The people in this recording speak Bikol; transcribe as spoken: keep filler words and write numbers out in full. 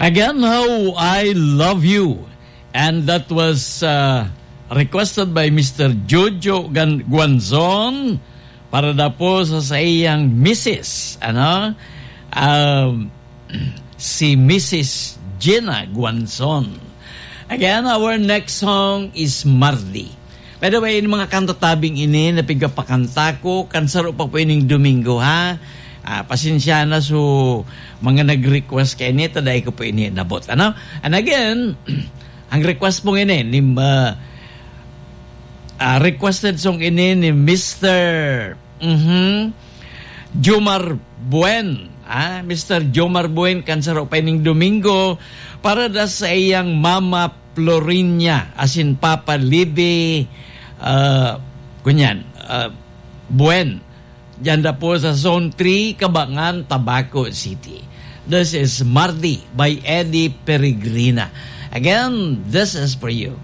Again, How I Love You. And that was uh, requested by Mister Jojo Gan- Guanzon para na po sa saiyang misis, ano? Um, si Missus Gina Guanzon. Again, our next song is Mardi. By the way, yung mga kanta tabing ini na pigapakanta ko, kan saro pa po ining Domingo, ha? Ah, pasensya na, so, mga nag-request kaini, ta dai ko po ini nabot, ano? And again, ang request po ini ni, ah, ah, requested song ini ni Mister Mhm. Jomar Buen. Ah, Mister Jomar Buen, kan saro pa ining Domingo, para da sa iyang Mama Florinia, asin Papa Libby, ah, kunyan, ah, Buen. Diyan da po sa Zone three, Kabangan, Tabaco City. This is Mardi by Eddie Peregrina. Again, this is for you.